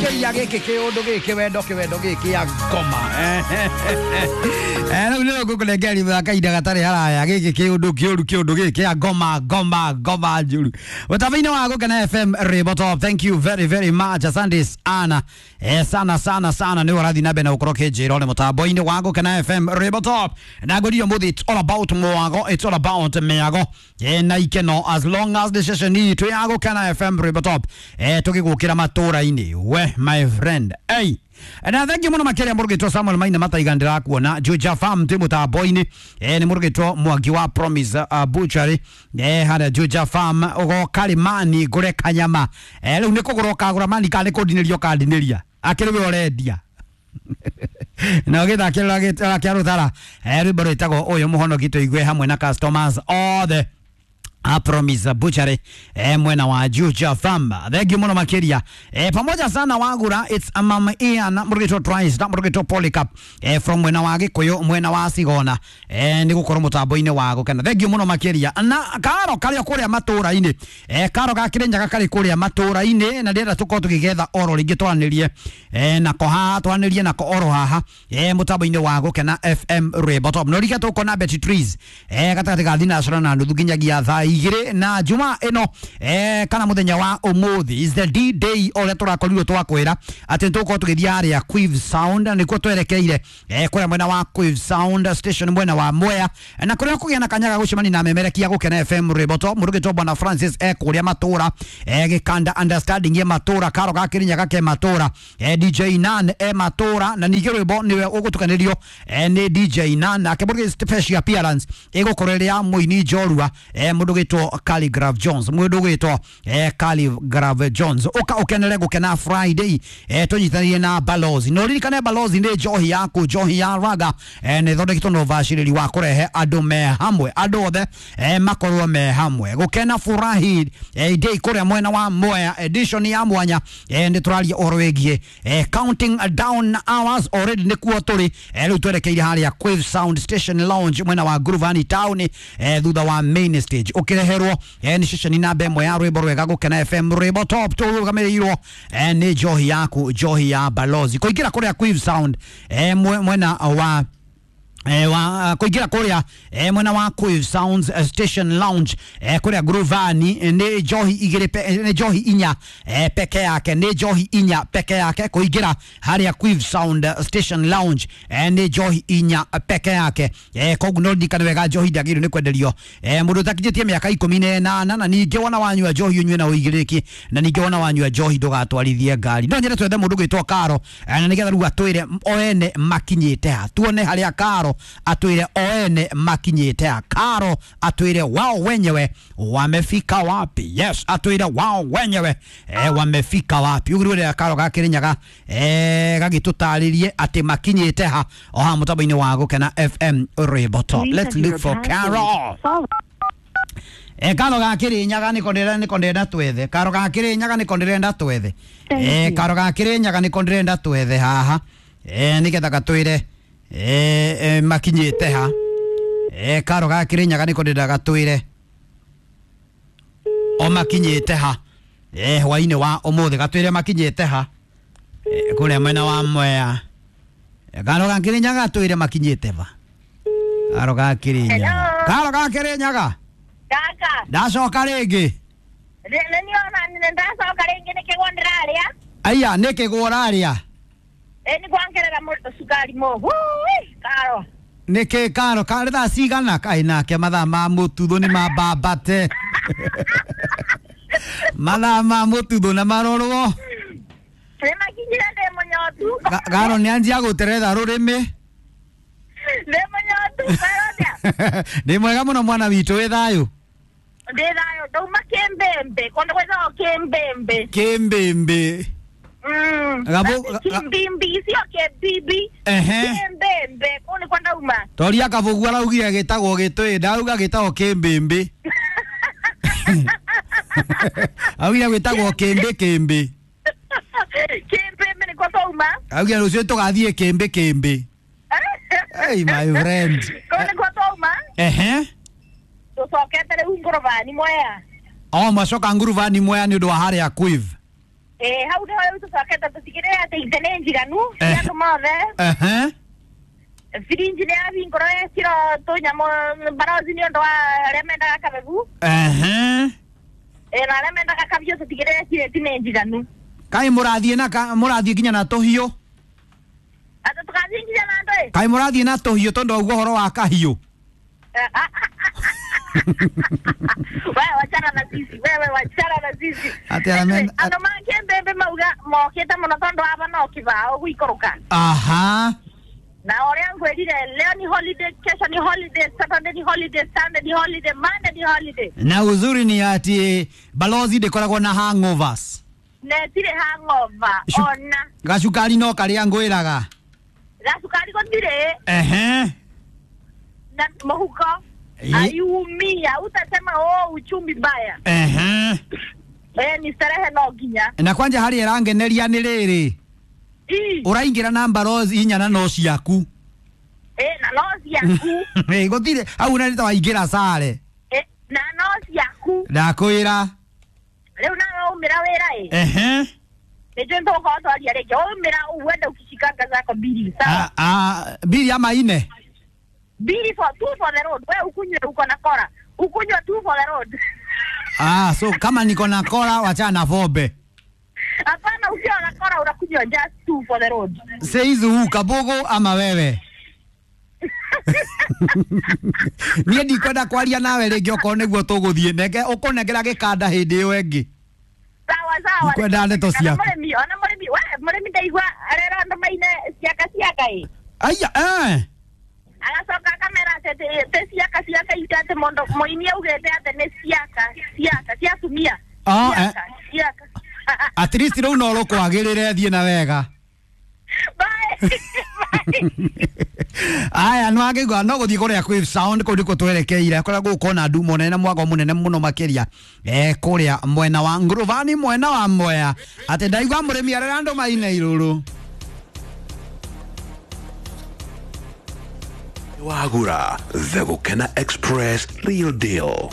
Makeria giki kiundu giki wendo kiwendo giki ya ngoma. Rĩu nĩrĩo ngũkũnengeri kahinda gatarĩ haraya giki kiundu kiũru kiundu giki ya ngoma ngoma ngoma njũru. Mũtambo-inĩ wa Gũkena FM Rĩmbo Top. Thank you very very much. Asante sana. Sana sana sana nĩ ũrathiĩ na mbere na gũkorwo ũkĩnjĩra nĩ mũtambo-inĩ wa Gũkena FM Rĩmbo Top. Na ngwĩrire ũmũthĩ it's all about mwago, it's all about mĩago. Na ikeno as long as the session itũ ya Gũkena FM Rĩmbo Top. Tũgĩgũkĩra matũra-inĩ. We my friend. Hey. Na thank you muno makiria murugitwo Samuel Maina Mataiga ndirakuona Juja Farm twi mutambo-ini ni murugitwo Mwangi wa Promise Butchery haria Juja Farm ugoka rimani ngure kanyama riu ni kugura ukagura mani kana ni kundinĩria ũkandinĩria akĩrĩ we ũrendia na ũgĩthakĩra kĩa rũthara rwĩmbo rwĩtagwo ũyũ mũhonoki tũigue hamwe na customers othe a Promise Butchery mwena wa Juja Farm. Thank you muno makiria. Pamoja sana wagura it's a mama Ian murugitwo Trice na murugitwo Polycarp from mwena wa Gikuyu mwena wa Sigona ni gukorwo mutambo-ini wa Gukena. Thank you muno makiria. Na karo karia kuria matura-ini karo ga Kirinyaga kari kuria matura-ini na ndĩrenda tukorwo tukigetha oro ringi twaranirie nako haha twaranirie nako oro haha mutambo-ini wa Gukena FM Rwĩmbo Top. No rike tukona Betty Trees gatagatĩ ga thinacara na nuthu nginyagia thaa igĩrĩ na juma ĩno kana mũthenya wa ũmũthĩ is the D day ũrĩa tũrakorirwo twakwĩra atĩ nĩtũgũkorwo tũgĩthiĩ harĩa Quiv Sound nĩkuo twerekeire kũrĩa mwena wa Quiv Sound Station mwena wa Mwea na kũrĩa kũgĩa na kanyaga gũcemania na memerekia Gũkena FM Rwĩmbo Top mũrugĩtwo Bwana Francis kũrĩa matũra gĩkanda understanding ye matũra karo ga Kĩrinyaga ke matũra DJ Nan matũra na ningĩ rwĩmbo nĩwe ũgũtukanĩrio nĩ DJ Nan nake mũrugĩ special appearance ĩgũkorwo ĩrĩ ya mũini njorua mũndũ gwitwo Khaligraph Jones mundu gwitwo Khaligraph Jones uka ukenere gukena Friday tunyitanirie na Balozi no ririkane Balozi ni njohi yaku njohi ya raga ni thondeketwo na ubaciriri wa kurehe andu me hamwe andu othe makorwo me hamwe gukena furahi day kuria mwena wa Mwea edition ya mwanya ni turaria uhoro wigie counting down hours already nikuo turi riu twerekeire haria Quiv Sound Station Lounge mwena wa Guruvani town thutha wa main stage ukireherwo ni ceceni namba ĩmwe ya rwĩmbo rwega Gũkena FM Rwĩmbo Top tũrũgamĩrĩirwo nĩ njohi yaku njohi ya Balozi kũingĩra kũrĩa Quiv Sound mwena wa kuingira kuria mwena wa Quiv Sounds Station Lounge kuria Gruvani ni njohi igiri ni njohi inya peke yake ni njohi inya peke yake kuingira haria Quiv Sound Station Lounge ni njohi inya peke yake koguo no ndikane wega njohi ndagĩrĩirwo nĩ kwenderio mũndũ ũtakinyĩtie mĩaka 18 na ningĩ wona wanyua njohi ũnyue na ũigĩrĩrĩki na ningĩ wona wanyua njohi ndũgatwarithie ngari no nyende twethe mũndũ gwĩtwo Karo na nĩgetha rĩu atwĩre oene makinyĩte ha tuone harĩa Karo atwire oene makinyite Karo atwire wao wenyewe wamefika wapi. Yes, atwire wao wenyewe wamefika wapi ugirire Karo ga Kirinyaga gagitutaririe ati makinyite ha oha mutambo-ini wa Gũkena FM Rwĩmbo Top. Let's look for Karo. Karo ga Kirinyaga niko ndĩrenda twethe Karo ga Kirinyaga niko ndĩrenda twethe Karo ga Kirinyaga niko ndĩrenda twethe haha nigetha gatwire makinyite ha Karo ga Kirinyaga niko ndĩrenda gatwire o makinyite ha hwainĩ wa ũmũthĩ gatwire makinyite ha kũrĩa mwena wa Mwea Karo ga Kirinyaga gatwire makinyite va Karo ga Kirinyaga Karo ga Kirinyaga Kaka ndacoka rĩngĩ nĩ niona ndacoka rĩngĩ nĩ kĩgwa ndĩrarĩa aya nĩ kĩgwa ũrarĩa ni kwangerera cukari mohu Karo nĩkĩ Karo karĩ thaa cigana kaĩ nake mathaa ma mũtuthũ nĩ mambambate mathaa ma mũtuthũ na marorwo nĩ makinyire ndĩ mũnyotu Karo nĩ anjia gũteretha rũrĩmĩ ndĩ mũnyotu Karo ndĩ mwega mũno mwana witũ wĩ thayũ ndĩ thayũ ndauma kĩmbĩmbĩ kũndũ gwĩtagwo kĩmbĩmbĩ kĩmbĩmbĩ Kimbimbi sio kĩmbimbi kĩmbĩmbĩ kũu nĩkuo ndauma toria Kabugu araugire gĩtagwo gĩtũĩ ndauga gĩtagwo kĩmbĩmbĩ augire gwĩtagwo kĩmbĩ kĩmbĩ kĩmbĩmbĩ nĩkuo twauma augire rũciũ tũgathiĩ kĩmbĩ kĩmbĩ. Hey my friend kũu nĩkuo twauma tũcokete rĩu ngũrũbani Mwea o macoka nguruvani Mwea nĩ ũndũ wa harĩa Quiv. Hau nĩho rĩu tũcokete tũtigĩrĩre atĩ itĩ nĩ njiganu cia andũ mothe. Firinji nĩ yahingũrwo ĩkĩrwo tũnyamũ barothi nĩ ũndũ wa arĩa mendaga kabegu. Na arĩa mendaga kabiũ tũtigĩrĩre kirĩti nĩ njiganu. Kai mũrathiĩ na mũrathiĩ nginya na tũhiũ? Atĩ tũgathiĩ nginya na andũ ĩ? Kai mũrathiĩ na tũhiũ tondũ waigua ũhoro wa kahiũ? Wewe wachana na sisi, wewe wachana na sisi. Atĩ arĩa Anyway, andũ ma Kĩmbembe mauga mokĩte mũno tondũ aba no kĩbao gũikũrũka. Na ũrĩa ngwĩrire, leo ni holiday, kesho ni holiday, Saturday ni holiday, Sunday ni holiday, Monday ni holiday. Na uzuri ni ati balozi ndĩkoragwo na hangovers. Na ĩtirĩ hangover ona. Gacukari no karĩa ngwĩraga. Gacukari gũtirĩ. Na mũhuko ayumia utasema oh, uchumi mbaya. Ni starehe no nginya. Na kwanja harĩa ĩrangeneria nĩ rĩrĩ, ũraingĩra na balozi inya na no ciaku. Na no ciaku. Gũtirĩ hau na nĩ ta waingĩra sare. Na no ciaku. Ndakwĩra. Rĩu nawe waumĩra wĩra ĩ. Nĩnjũĩ nĩtũgũkorwo twaria rĩngĩ. Waumĩra uende ukishikanga zako mbili, sawa? Mbili ama ine? Mbili for two for the road. Wewe ukunywe uko na kora. Ukunywe two for the road. So kama niko na kora wachana na fobe. Hapana, ukiwa na kora unakunywa just two for the road. Seizi huu kabogo ama wewe? Niĩ ndikwenda kwaria nawe rĩngĩ okorwo nĩguo tũgũthiĩ. Nenge ũkũnengera gĩkanda hĩndĩ ĩyo ĩngĩ. Sawa sawa. Ndikwenda ndeto ciaku. Mũrĩmi, ona mũrĩmi, we mũrĩmi ndaigua arera andũ maine ciaka ciaka ĩ. Aya, Agacoka akamera atĩ ti ciaka ciaka iria atĩ mũndũ mũini augĩte atĩ nĩ ciaka ciaka cia atumia. Ciaka ciaka. At least rĩu no rũkwagĩrĩre thiĩ na wega. Bye. Bye. Aya no angĩigua no gũthiĩ kũrĩa kwĩ sound kũu nĩkuo twerekeire kũrĩa gũgũkorwo na ndumo nene na mwago mũnene mũno makĩria kũrĩa mwena wa Nguruvani mwena wa Mwea atĩ ndaigua mũrĩmi arera andũ maine irũrũ. Wagura, the Gukena Express, real deal.